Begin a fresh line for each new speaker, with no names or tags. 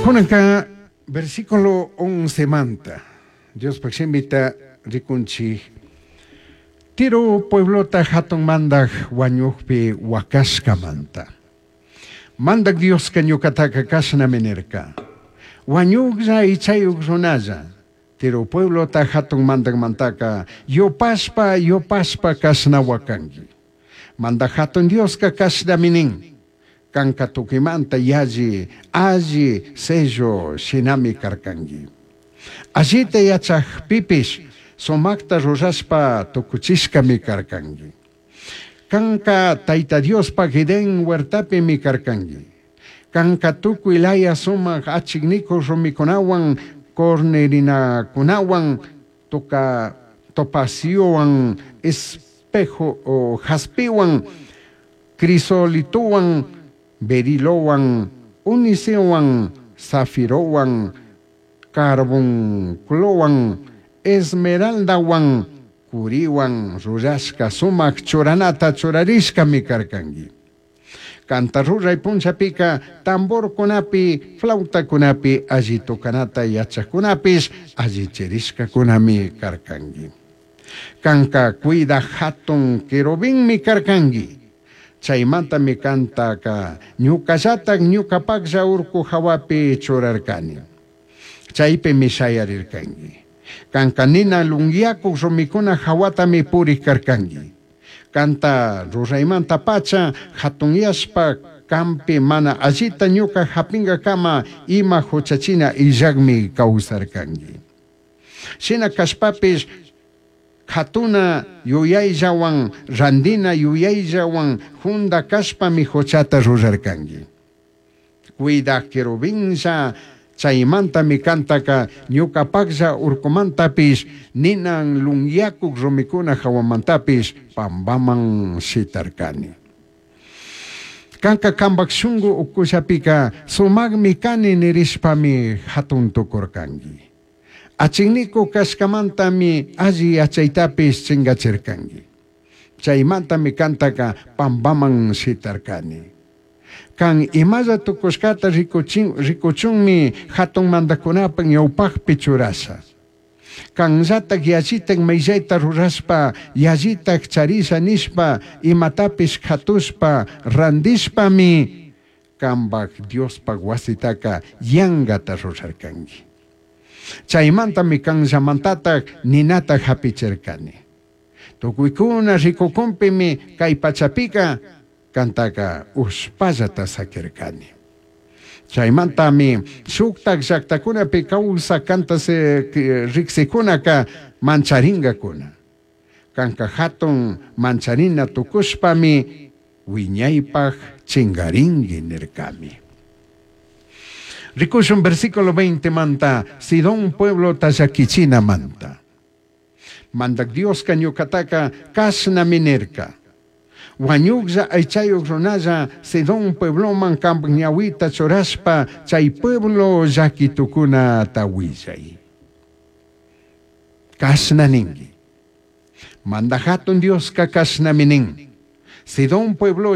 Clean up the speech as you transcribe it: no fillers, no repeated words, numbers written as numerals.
Kunanka versículo 11 manta Diospaj shimita rikunchik. Tiro pueblota hatun mandaj wañujpi huacashcamanta. Mandak Dioska ñukataka kashnami nirka. Wañujlla ichayuj runalla. Tiro pueblota hatun mandajmantaka yupashpa yupashpa kashna huakanki. Mandaj hatun Dioska kashnami nin. Kanka tukimanta yalli alli sello shinami karkanki. Allita yachajpipish sumakta rurashpa tukuchishkami karkanki. Kanka Tayta Diospaj Edén huertapimi karkanki. Kanka tukuy laya sumak achiknikuq rumikunawan cornerinakunawan toka topaciowan espejo o jaspiwan crisolitowan berilowan onicewan zafirowan carbunclowan esmeraldawan curiwan rurashka sumak churanata churarishkami karkanki. Kanta ruray punllapika tamborkunapi flautakunapi alli tocanata yachajkunapish allichirishkakunami karkanki. Kanka cuida hatun querubinmi karkanki. Chaymantami kantaka ñukallatak ñukapaklla urku hawapi churarkani. Chaypimi shayarirkanki. Kanka nina lunyakuq rumikuna hawatami purik karkanki. Kanta ruraymanta pacha hatunyashpa kampi mana allita ñuka hapingakama ima huchachina illakmi kawsarkanki. Shina kashpapish katuna yuyayllawan randina yuyayllawan junda kashpami huchata rurarkanki. Cuidaj querubinlla chaymantami kantaka ñukapaklla urkumantapish ninan lunyakuq rumikuna hawamantapish pampaman shitarkani. Kanka kampak shunku ukullapika sumakmi kani nirishpami hatun tukurkanki. Achikniku kashkamantami alli yachaytapish chinkachirkanki. Chaymantami kantaka pampaman shitarkani. Kan imalla tukushkata rikuchin rikuchunmi hatun mandakunapak ñawpakpi churasha. Kanllatak yallitak mayllayta rurashpa yallitak charisha nishpa imatapish katushpa randishpami kampak Diospak wasitaka yankata rurarkanki. Chaymantami kanllamantatak ninata hapichirkani. Tukuykuna rikukunpimi kay pachapika kantaka ushpallata sakirkani. Chaymantami shuktak llaktakunapi kawsak kanta riksikunaka mancharinkakuna. Kanka hatun mancharina tukushpami wiñaypaj chinkarinki nirkami. Rikushun versículo 20 manta Sidón pueblo llakichina manta. Mandak Dioska ñukataka kashnami nirka. Wañuklla aychayuq runalla Sidón puebloman kampak ñawita churashpa chay pueblo llaki tukunata willay. Kashna ninki. Mandaj hatun Dioska kashnami nin. Sidón pueblo.